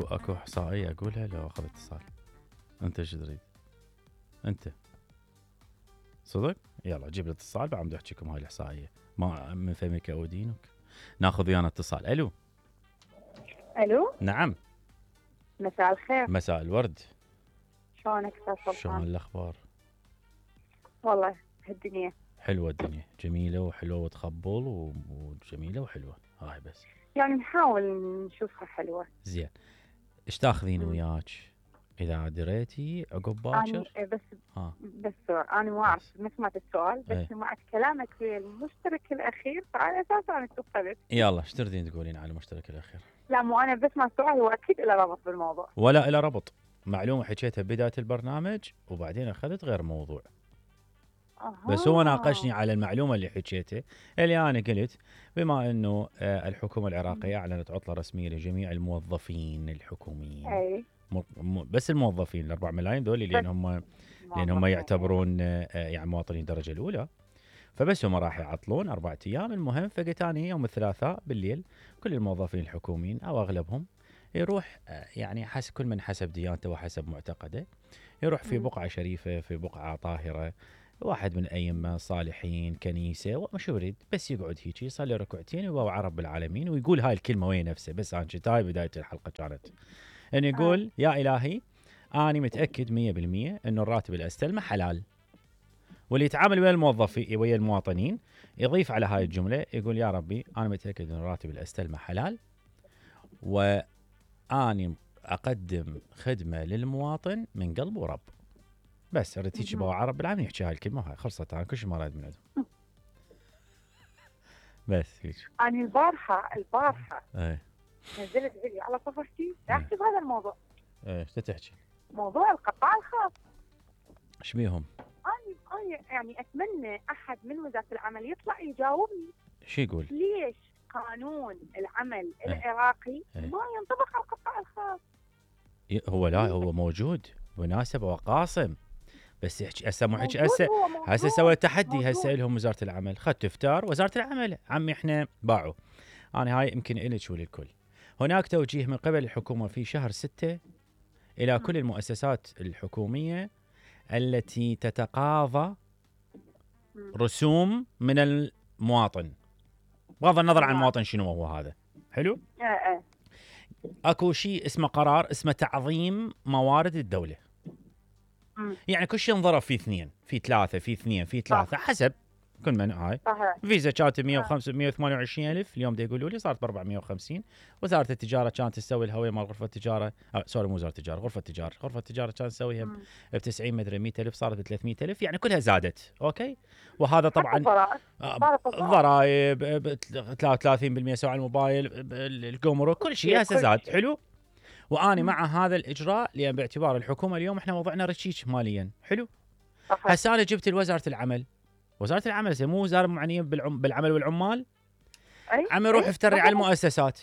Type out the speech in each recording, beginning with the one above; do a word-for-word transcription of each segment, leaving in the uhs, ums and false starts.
اكو اكو احصائيه اقولها لو اخذ اتصال. انت ايش تريد؟ انت صدق؟ يلا جيب الاتصال بعد احكيكم هاي الاحصائيه. ما من فمك اودينك. ناخذ ويانا اتصال. الو. الو. نعم. مساء الخير. مساء الورد. شلونك استاذ سلطان؟ شلون الاخبار؟ والله هالدنيا حلوه الدنيا، جميله وحلوه وتخبل وجميله وحلوه. هاي بس يعني نحاول نشوفها حلوه. زين. ايش تاخذين مم. وياك اذا دريتي عقب أنا باكر؟ بس ها بس سؤال. أنا ما أعرف ما سمعت السؤال بس ايه. سمعت كلامك في المشترك الأخير فعلى أساس أنا اتصلت. يلا ايش تردين تقولين على المشترك الاخير؟ لا مو أنا بسمع السؤال هو أكيد له ربط بالموضوع. ولا إلى ربط. معلومه حكيتها بدايه البرنامج وبعدين اخذت غير موضوع. أها. بس هو ناقشني على المعلومه اللي حكيتها اللي انا قلت بما انه آه، الحكومه العراقيه اعلنت عطله رسميه لجميع الموظفين الحكوميين. أي م- م- بس الموظفين الأربع ملايين ذولي لان هم لان هم يعتبرون آه، يعني مواطنين الدرجه الاولى. فبس هم راح يعطلون اربع ايام. المهم فقلت انا يوم الثلاثاء بالليل كل الموظفين الحكوميين او اغلبهم يروح آه، يعني حسب كل من حسب ديانته وحسب معتقده يروح في مم. بقعه شريفه في بقعه طاهره واحد من أئمة صالحين كنيسة ومش يريد بس يقعد هيك يصلي ركعتين ويوعى رب العالمين ويقول هاي الكلمة وهي نفسه. بس أنا كنت هاي بداية الحلقة كانت أن يقول يا إلهي أنا متأكد مية بالمية أنه الراتب اللي أستلمه حلال. واللي يتعامل ويا الموظفين ويا المواطنين يضيف على هاي الجملة يقول يا ربي أنا متأكد أن الراتب اللي أستلمه حلال وأني أقدم خدمة للمواطن من قلب ورب. بس اريد هيك بوعى رب العالمين يحكي هاي الكلمه وهاي خلصت. انا كل شيء ما اريد من عندهم. بس هيك. أنا البارحة البارحة ايه نزلت فيديو على صفحتي أحكي بهذا الموضوع. ايه ايش تحكي؟ موضوع القطاع الخاص. ايش بيهم؟ أنا أنا يعني أتمنى أحد من وزارة العمل يطلع يجاوبني. شو يقول؟ ليش قانون العمل ايه. العراقي ايه. ما ينطبق على القطاع الخاص؟ ي- هو لا هو موجود مناسبة وقاسم بس يحكي هسه مو حكي موجود هسه هو موجود. هسه سوى تحدي موجود. هسه لهم وزارة العمل خدت افتار وزارة العمل عمي احنا باعوا. انا هاي يمكن الك وللكل. هناك توجيه من قبل الحكومة في شهر ستة الى كل المؤسسات الحكومية التي تتقاضى مم. رسوم من المواطن بغض النظر عن نعم. المواطن شنو هو هذا. حلو. ايه ايه اكو شيء اسمه قرار اسمه تعظيم موارد الدولة. مم. يعني كل شيء انضرب في اثنين في ثلاثة في اثنين في ثلاثة حسب كل من هاي. صحيح. فيزا كانت مية وخمسة مية وثمانية وعشرين ألف اليوم دا يقولوا لي صارت ب أربعمية وخمسين. وزارة التجارة كانت تسوي الهوية مال غرفة التجارة آه سوري مو وزارة التجارة غرفة التجارة غرفة التجارة كانت تسويها مم. ب تسعين مدري مية ألف صارت ب ثلاثمية ألف يعني كلها زادت. اوكي. وهذا طبعا حتى الضرائب. آه، صارت الضرائب. الضرائب ب ثلاثة وثلاثين بالمية سوى على الموبايل ب- ب- الجمرك كل شيء هسه كل زاد. شيء. حلو. واني مم. مع هذا الاجراء لان باعتبار الحكومه اليوم احنا وضعنا رشيك ماليا. حلو. صحيح. هسه انا جبت لوزاره العمل. وزاره العمل هسه مو وزاره معنيه بالعم بالعمل والعمال. أي؟ عم يروح أي؟ يفتري صحيح. على المؤسسات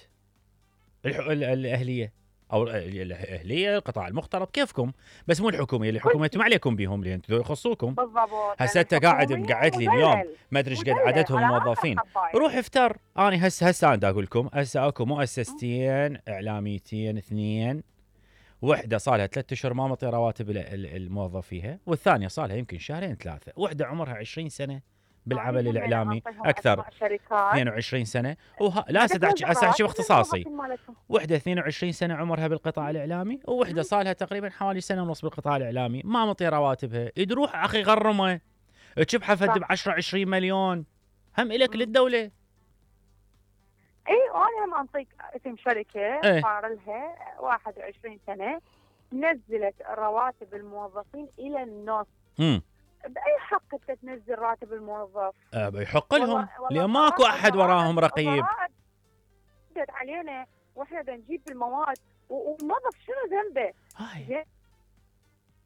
الح... ال- الاهليه او ال- الاهليه القطاع المختلط كيفكم بس مو الحكوميه. الحكومه انتم ما عليكم بهم لان انتم يخصوكم. بالضبط. هسه انت قاعد الحكومية مقعد لي مدلل. اليوم ما ادري ايش قد مدلل عددهم على موظفين. آخر حباية. روح افتر. انا هسه هسه انا دا اقول لكم هسه اكو مؤسستين اعلاميتين اثنين. وحده صار لها ثلاثة اشهر ما مطي رواتب ال- ال- الموظفيها والثانيه صار لها يمكن شهرين ثلاثه. وحده عمرها عشرين سنه بالعمل أنا هم الاعلامي أعطيهم اكثر أسماء شركات. اثنين وعشرين سنه. وها لا ما هسه دا أحكي- هسه احكي تتوزع باختصاصي. رواتب مالتهم. وحده اثنين وعشرين سنه عمرها بالقطاع الاعلامي ووحده صار لها تقريبا حوالي سنه ونص بالقطاع الاعلامي ما مطي رواتبها. يروح اخي غرمه تشبحه فد ب عشرة عشرين مليون هم الك مم. للدوله. اي انا هم انطيك اسم شركه إيه. صار لها واحد وعشرين سنه نزلت رواتب الموظفين الى النص. امم باي حق انت تنزل راتب الموظف؟ أه يحق لهم والله- والله لان ماكو الضرائب- احد وراهم الضرائب- رقيب. الضرائب جت علينا واحنا بدنا نجيب المواد و- والموظف شنو ذنبه؟ هاي زين؟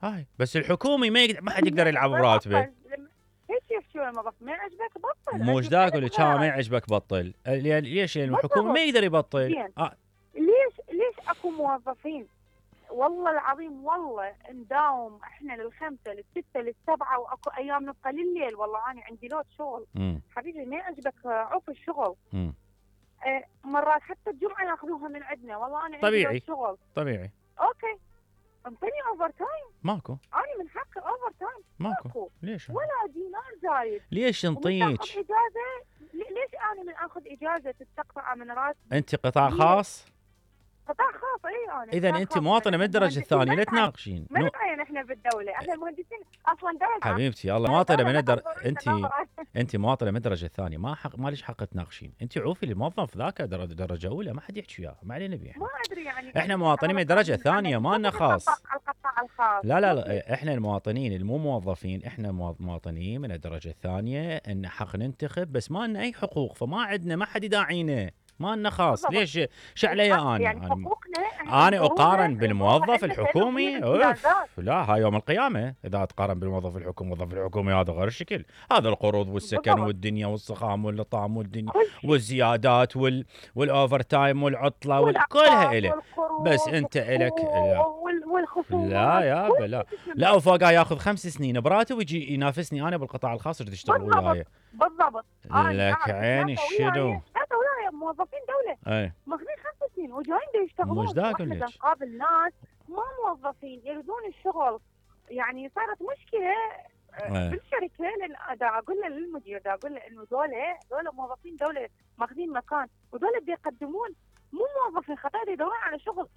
هاي بس الحكومي ما يقدر ما حد يقدر يلعب براتبه. لما- هيك كيف شو الموظف ما يعجبك بطل. مو عندي ذاك اللي ثلاث كان ما خيارات. يعجبك بطل. لأن- ليش؟ لان بالضبط. الحكومه ما يقدر يبطل. زين. آه. ليش ليش اكو موظفين والله العظيم والله نداوم احنا للخمسه للسته للسبعه واكو ايام نبقى لليل. والله انا عندي لود شغل مم. حبيبي ما يعجبك عوف الشغل. مم. آه، مرات حتى الجمعه ياخذوها من عندنا، والله انا عندي طبيعي. لود شغل. طبيعي. اوكي انطيني اوفر تايم، ماكو انا من حقي اوفر تايم. ماكو ماكو ليش ولا دينار زايد. ليش ومن تاخذ نطيج؟ اجازه، لي- ليش انا من اخذ اجازه تستقطع من راتبي؟ انت قطاع ليش؟ خاص، قطاع خاص اي انا اذا قطاع انت خاص. مواطنه من إحنا الدرجه مهندسين الثانيه، ما لا نتعين، تناقشين. ما نو نتعين احنا بالدوله، احنا المهندسين اصلا دوله. حبيبتي الله مواطنه من الدرجه، انت انت مواطنه من الدرجه الثانيه، ما حق ما ليش حق تناقشين. انت عوفي الموظف ذاك درجه درجه اولى، ما حد يحكي وياه، ما علينا بيه احنا. ما ادري يعني احنا مواطنين من الدرجه الثانيه، ما لنا خاص. على القطاع الخاص. لا لا لا، احنا المواطنين المو موظفين، احنا موا- مواطنين من الدرجه الثانيه، ان حق ننتخب، بس ما لنا اي حقوق، فما عندنا ما حد يداعينا، ما لنا خاص. بالضبط. ليش شو علي انا؟ يعني أنا- حقوقنا انا اقارن بالموظف الحكومي؟ اوف امتيازات. لا، هاي يوم القيامه اذا تقارن بالموظف الحكومي. الموظف الحكومي هذا غير الشكل، هذا القروض والسكن بالضبط. والدنيا والسخام والطعام والدنيا كل شيء. والزيادات وال والاوفر تايم والعطله وال- والأقساط كلها إله. والقروض بس انت الك لا وال- والخصومات. لا يا كل بلا شيء لا، وفوقها ياخذ خمس سنين براتب ويجي ينافسني انا بالقطاع الخاص، تريد تشتغل بالضبط. وياي. بالضبط. أنا لك أعرف عيني ثلاثة الشنو. وياي- ثلاثة وياي موظفين دوله اي ماخذين خمس سنين وجايين دا يشتغلون. مش دا واحنا أقول دا لك. نقابل ناس ما موظفين يريدون الشغل. يعني صارت مشكله آه، إيه. بالشركه، لان دا اقول له للمدير، دا اقول له انه ذولا ذولا موظفين دوله ماخذين مكان، وذولا دا يقدمون مو موظفين خطير، يدورون على شغل.